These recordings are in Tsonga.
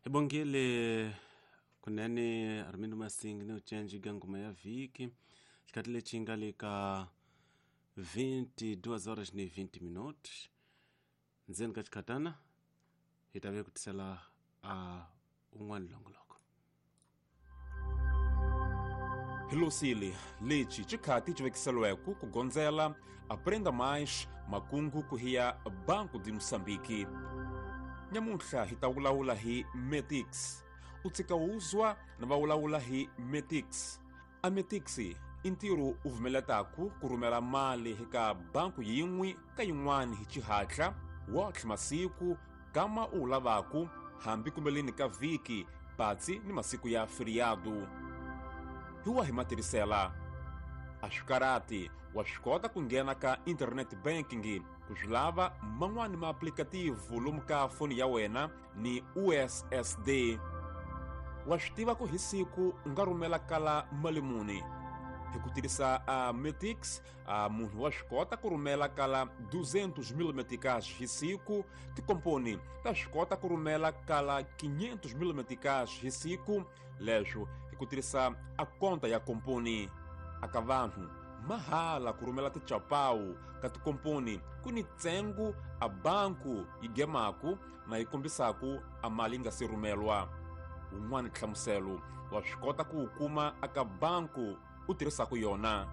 Hi bongile kunene Armindo Masingi ni ucenji ga ngoma ya vhiki xikati lexi nga le ka 22 horas ni 20 minutos ndzeni ka xikhatana hi ta ve ku tisela a un'wana longoloko. Hi losile lexi xikhati xi vekiseliweke ku gondzela Aprenda Mais makungu ku hiya Banco de Moçambique. Nyamuntlha hi ta vulavula hi Metix. U tshika wuzwa na va vulavula hi Metix. A Metix i ntirho u vumeletaku ku rhumela mali eka banku yin'we ka yin'wana hi xihatla wotlhe masiku kama u wu lavaku hambi kumbeleni ka vhiki patsi ni masiku ya feriado. Hi wahi matirhisela? A swi karhati, wa swi kota ku nghena ka internet banking ku swi lava man'wani maaplikativu lomu ka foni ya wena ni USSD. Wa swi tiva ku hi siku u nga rhumela kala mali muni? Hi ku tirhisa a Metix, a munhu wa swi kota ku rhumela kala 200 mil meticais hi siku, tikomponi ta swi kota ku rhumela kala 500 mil meticais hi siku, leswo hi ku tirhisa a konta ya komponi. Aka vanhu mahala ku rhumela tichapawu ka tikomponi ku ni ntsengo a banku yi gemaku na yi kombisaku a mali yi nga si rhumelwa. Wun'wana nhlamuselo wa swi kota ku wu kuma aka banku u tirhisaku yona.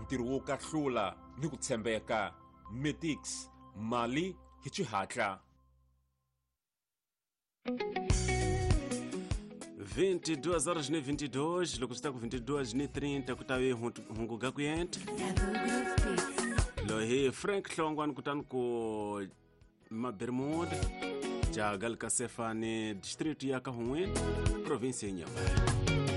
Ntirho wo kahlula ni ku tshembeka. Metix, mali hi xihatla. 22 horas ni 22 loko swi ta ku 22 ni 30 ku ta ve hunguga ku yenta loyi hi Frank Hlongwane kutani ku Mabermuda jaga lika Sefane district ya ka Hun'wini province ya Inhambane.